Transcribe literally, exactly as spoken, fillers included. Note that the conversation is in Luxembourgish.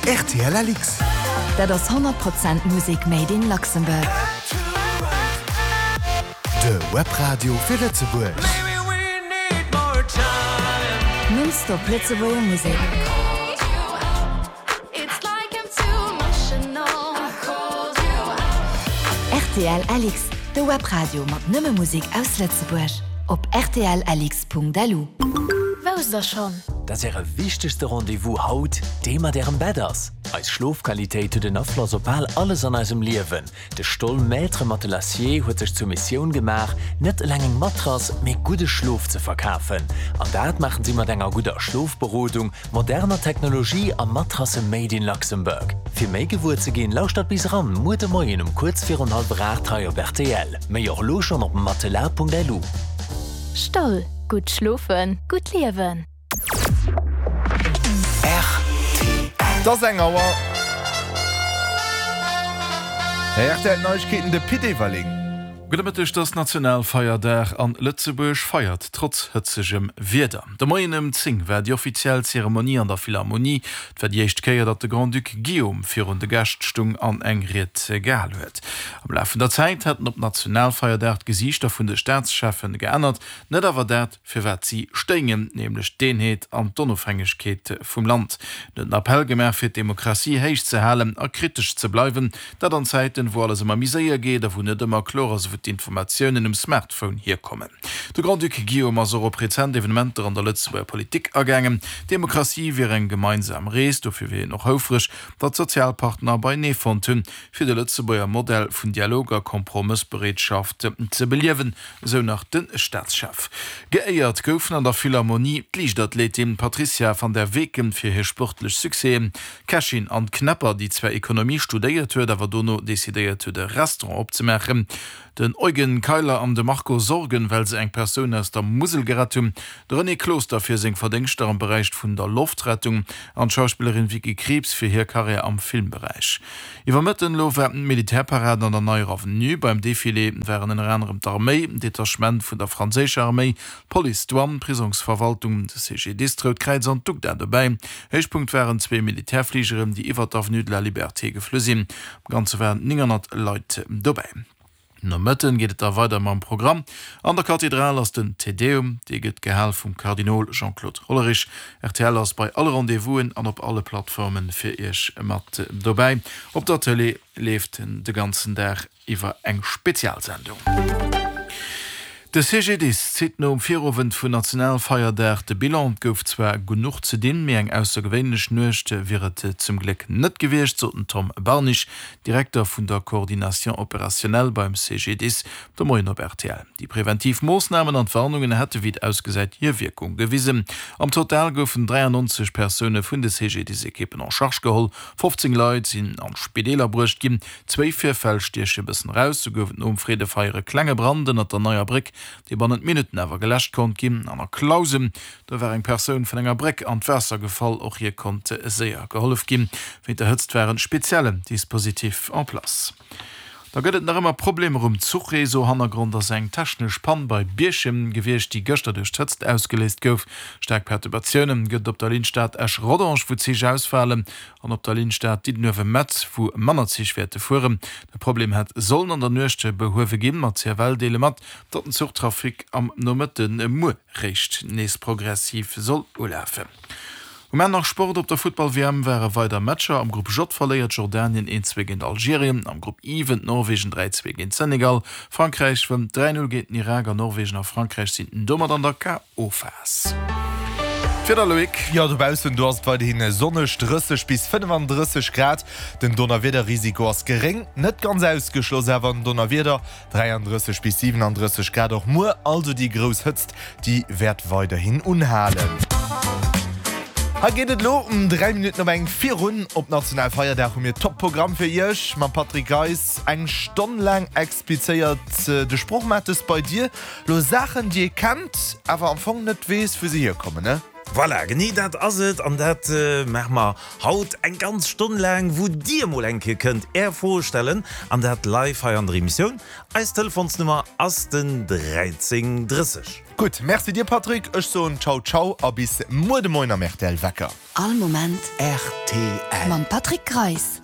Rtl Alix. Dat ass honnert Prozent Musek made in Luxembourg. De Webradio fir Lëtzebuerg. Non-stop Lëtzebuerger Musek. Rtl Alix, de Webradio mat nëmme Musek aus Lëtzebuerg. Op rtl-alix.lu. Wousst der schonn? Dass Äre wichtegste Rendez-vous haut dee mat Ärem Bett ass? Eis Schlofqualitéit huet en Afloss op bal alles an eisem Liewen. De Stoll Maître Matelassier huet sech zur Missioun gemaach, net eleng eng Matrass, mee gudde Schlof ze verkafen. An dat maachen si mat enger gudder Schlofberodung, moderner Technologie a Matrasse made in Luxembourg. Fir méi gewuer ze ginn, lauschtert bis eran muer de Moien um kuerz virun hallwer aacht hei op rtl. Méi och elo schonn op matelas.lu. Stoll, gutt schlofen, gutt liewen. Et ass eng Auer. Rtl Neiegkeeten, de Pit Everling. Gudde Mëtteg, Et ass Nationalfeierdag an Lëtzebuerg feiert trotz hëtzegem Wieder. De Moien ëm zéng war déi offiziell Zeremonie an der Philharmonie. Et war déi éischt Kéier, datt de Grand-Duc Guillaume virun de Gäscht stung an eng Ried gehal huet. Am Laf vun der Zäit hätten op Nationalfeierdag d'Gesiichter vun de Staatscheffen geännert, net awer dat, fir wat si stéingen, nämlech d'Eenheet an d'Onofhängegkeet vum Land. En huet en Appell gemaach, fir d'Demokratie héich ze halen a kritesch ze bleiwen, dat an Zäiten, wou alles ëmmer méi séier geet a wou net ëmmer kloer ass, wou d'Informatiounen um Smartphone hierkommen. De Grand-Duc Guillaume ass och op rezent Evenementer an der Lëtzebuerger Politik agaangen. D'Demokratie wier eng gemeinsam Rees, dofir wier een och houfreg, datt d'Sozialpartner beienee fonnt hunn, fir de Lëtzebuerger Modell vun Dialog a Kompromëssbereetschaft ze beliewen, esou nach de Staatschef. Geéiert goufen an der Philharmonie d'Liichtathletin Patricia van der Weken fir hir sportlech Succèsen, d'Kächin Anne Knepper, déi zwar Ekonomie studéiert huet, awer dono decidéiert huet e Restaurant opzemaachen, den Eugen Keiler an de Marco Sorgen, well se eng Persoun aus der Musel gerett hunn, de René Closter fir seng Verdéngschter am Beräich vun der Loftrettung an d'Schauspillerin Vicky Krieps fir hir Karriär am Filmberäich. Iwwer Mëtten elo war d'Militärparad an der Neier Avenue. Beim Defilé waren ënner anerem d'Arméi, Detachement vun der franséischer Arméi, d'Police, d'Douane, d'Prisongsverwaltung, de C G D I S, d'Rout Kräiz an d'UGDA dobäi. Héichpunkt waren zwee Militärfligeren, déi iwwer d'Avenue de la Liberté geflu sinn. Am Ganze waren nénghonnert Leit dobäi. Nomëtten geet et da weider mam Programm. An der Kathedral ass den Te Deum, dee gëtt gehal vum Kardinol Jean-Claude Hollerich. Rtl ass bei alle Rendez-vousen an op alle Plattforme fir Iech mat dobäi. Op der Tëlee leeft de ganzen Dag iwwer eng Spezialsendung. De C G D I S zitt nom Virowend vun Nationalfeierdag de Bilan. Et gouf zwar genuch ze dinn, mee eng aussergewéinlech Nuecht wier et zum Gléck net gewiescht, sot den Tom Barnig, Direkter vun der Coordination opérationnelle beim C G D I S, de Moien op R T L. Déi preventiv Moossnamen an d'Warnungen hätte wéi et ausgesäit hir Wierkung gewisen. Am Total goufen dräiannonzeg Persoune vun de C G D I S-Ekippen en charge geholl, fofzéng Leit sinn an d'Spideeler bruecht ginn. Zwéi Virfäll stieche bëssen eraus, Sou gouf et nom Freedefeier e klenge Brand ënnert der Neier Bréck, dee bannent Minutten awer geläscht konnt ginn. An a Clausen, do war eng Persoun vun enger Bréck an d'Waasser gefall, och hir konnt séier gehollef ginn. Wéint der Hëtzt war en speziellen Dispositif en place. Da gëtt et nach ëmmer Problemer um Zuchreseau. Hannergrond ass eng technesch Pann bei Bierchem gewiescht, déi gëschter duerch d'Hëtzt ausgeléist gouf. Staark Perturbatioune gëtt et op der Linn Stad-Esch-Rodange, wou Zich ausfalen, an op der Linn Stad-Diddenuewe-Metz, wou manner Zich wäerte fueren. De Problem hätt sollen an der Nuecht behuewe ginn, ma d'C F L deele mat, datt den Zuchtrafic am Nomëtte muer réischt nees progressiv soll ulafen. Um Enn nach Sport, Op der Futtball-W M ware weider Matcher. Am Grupp J verléiert Jordanien een zwee géint Algerien, am Grupp I wënnt Norwegen dräi zwee géint Senegal, Frankräich wënnt dräi null géint den Irak an Norwegen a Frankräich sinn domat an der K O. Phas. D'Wieder, Loïc. Jo, dobaussen do ass et weiderhi sonneg, drësseg bis fënnefandrësseg Grad. Den Donnerwiederrisiko ass geréng, net ganz ausgeschloss awer en Donnerwieder. dräiandrësseg bis siwenandrësseg Grad och muer, also déi grouss Hëtzt déi wäert weiderhin unhalen. Hei geet et elo um dräi Minutten op eng virun. Op Nationalfeierdag hu mir Top-Programm fir Iech mam Patrick Geis. Eng Stonn laang explizéiert de Sproochmates bei dir lo Saachen, déi ee kennt, awer am Fong net weess, wou se hierkommen, ne? Voilà, genee dat ass et an dat maache mer haut eng ganz Stonn laang, wou Dir mol eng Kéier kënnt Är Froe stellen an dat live hei an der Emissioun. Eis Telefonsnummer ass den dräizéng drësseg. Gutt, Merci dir Patrick, ech soen Ciao ciao a bis muer de Moien am rtl Wecker. All Moment rtl. Mam Patrick Greis.